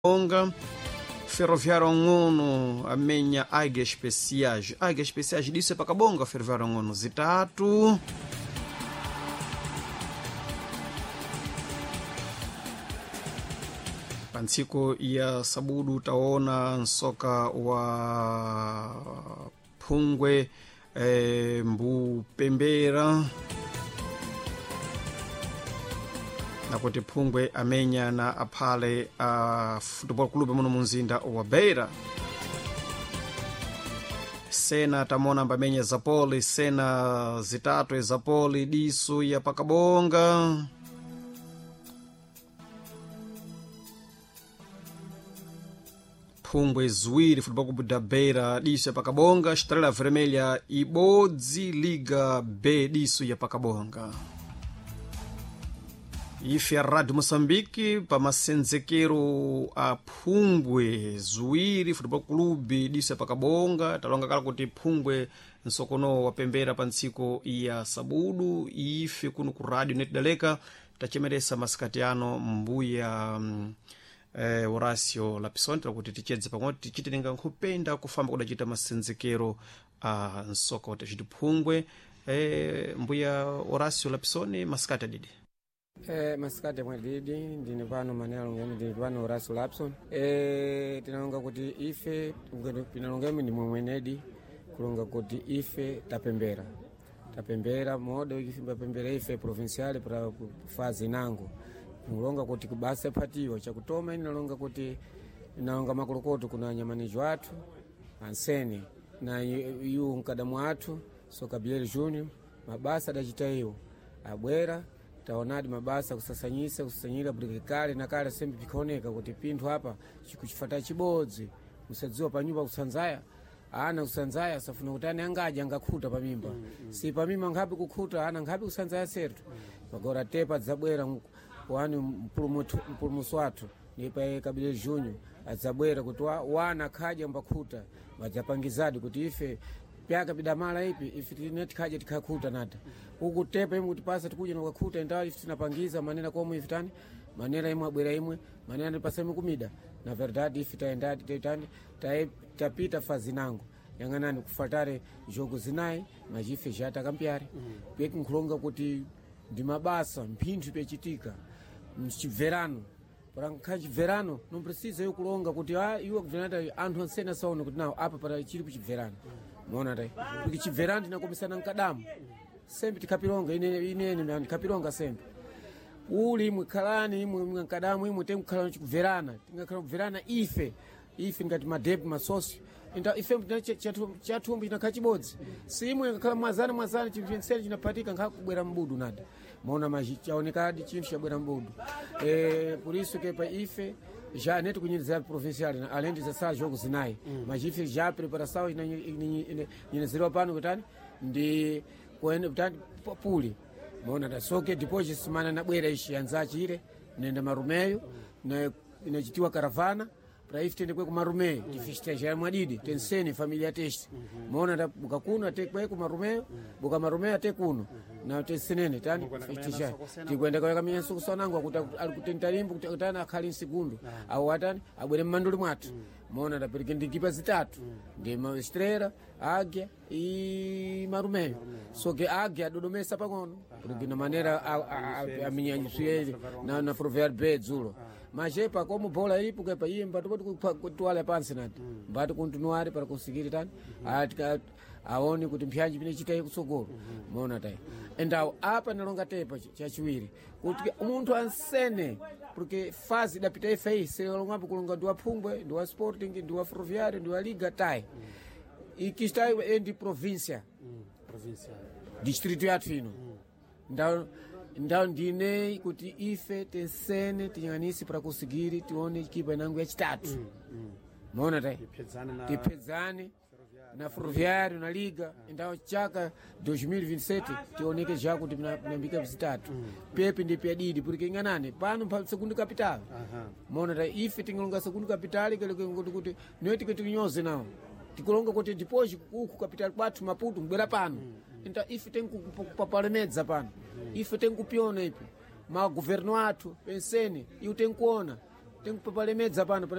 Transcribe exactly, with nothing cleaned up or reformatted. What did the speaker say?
Onga Ferroviário Ang'ono amenya Águias Especiais. Águias Especiais disso é pakabonga Ferroviário Ang'ono zitatu. Pa ntsiku ya sabudu taona nsoka wa phungwe eh, mbupembera nakuti phungwe amenya na aphale a uh, football club muno munzinda wa beira. Sena tamona ambamenya zapoli sena zitatu ezapoli disu ya pakabonga. Phungwe ziwiri football club da Beira disu ya pakabonga. Estrela Vermelha ibodzi Liga B disu ya pakabonga. Ife ya Rádio Moçambique pa masenzekero a phungwe ziwiri football club diso ya pakabonga. Talonga kala kuti phungwe nsokono wapembera pa ntsiku ya sabudu. Ife kuno ku radio netidaleka tachemeresa masikati ano mbuya mm, eh, Horacio Lapison kuti tichedze pamwe tichitenenga nkhupenda kufamba kudacita masenzekero a nsoka watachiti phungwe. eh, mbuya Horacio Lapison, masikati adidi. Eh, masikati mwadidi ndine pano maneno ngemi ndine pano Horacio Lapson. Eh, tinalonga kuti ife tinalongemi ndi mwemwenedi kulonga kuti ife tapembera tapembera modo tapembera ife provincial para fazi nango kulonga kuti kubasa patiwa chakutoma inalonga kuti inalonga makolokoto kuna nyamanijo athu ansene na yu mkadamu athu so Gabriel Junior mabasa adachita iwo abwera taonadi mabasa kusasanyisa kusasanyira kuti kale na kale sembe pikaoneka kuti pinthu apa chikuchifata chibodzi musadziwa panyumba kusanzaya ana kusanzaya safuna kuti ane angadya angakhuta pamimba mm, mm. Si pamimba nkhapi kukhuta ana nkhapi kusanzaya sertu pagora tepa dzabwera wani mpulumutsi wathu ndipa Kabile Junior adzabwera kuti wa, wana khadya mbakhuta vadzapangizadi kuti ife pyaka pidamala ipi ife tine tikhaja tikhakhuta nata uku tepa imwe kutipasa tikuja nokakhuta indawa ife tinapangiza manera komwe ife tani manera imwe abwera imwe manera ndipasa imwe kumida na verdade ife taendadi taitani tapita fazi nango yang'anani kufatare jogo zinayi machife jatakambyare mm. peki nkhulonga kuti ndi mabasa mphinthu pyachitika mchibverano parakha chibverano não precisa eu kulonga kuti ah iwe kubverana anthu ansene asaone kuti nawo apa para chili kuchibverano maona tai porque chibverano tinakomisana mkadamu sembe tikhapilonga ine inene ndikhapilonga sembe uli imwe khalani imwe imwe mkadamu imwe temkhala chikubverana tingakhala kubverana ife ife ngati madebi masosi inda ife chathumbu chinakhala chibodzi si imwe ngakhala mwazana mwazana chinthu chensene chinapatika nkhakubwera mbudu nada maona maji chaonekadi chinthu chabwera mbudu e, por isso que pa ife já neto kunyenezera provincial além de sala jogo zinayi mm. mas ife já preparação inyenezerwa pano kutani ndi kuene kutani puli maona da soke depois semana nabwera ishi anzachire nenda marumeyo na inachitiwa caravana para ife tende kwe kumarumeyo mm. tifestejar mwadidi mm. tensene familia teste mm -hmm. maona da buka kuno ate kwe kumarumeyo mm. buka marumeyo ate kuno mm -hmm. na tensenene tani festejar tikwenda kwa kamenya sokusanango kuti ali kutentalimbo kuti atani akhali nsegundo ah. au atani abwere mmanduli mwathu mm. maona da perike ndikipa zitatu mm. ndi Estrela, Águia e Marumeyo. Só que Águia adodomesa pang'ono porque na maneira aminyanyisuyeli na, na Ferroviário B dzulo mas epa como bola ipo que pa iye mbati kuti pansi nati mbati continuare para conseguir tani aone kuti mpyanji pine chitayi kutsogolo maona tai endawo apa nalonga tepa chachiwiri kuti munthu ansene porque fazi idapita ife iyi selongapo kulonga ndi wa phungwe ndi wa Sporting ndi wa Ferroviário ndi wa Liga tai ikistayi endi província distrito yathu ino ndawo ndawo ndine kuti ife tensene tinyang'anise para conseguir tione ekipa inango yachitatu maona tai tiphedzane na Ferroviário na Liga então chaka dois mil e vinte e sete tioneke já kuti pinambika zitatu pepe ndi pyadidi porque ing'anani pano pa segundo capital maona ta ife tingilonga segundo capital kuti kuti niwe tike nawo tikulonga kuti depois uku capital kwathu Maputo mbwera pano então ife tenkupapalemedza pano ife tenkupiona ipi magoverno athu pensene iwo tenkuona Tinkupalemedza pano.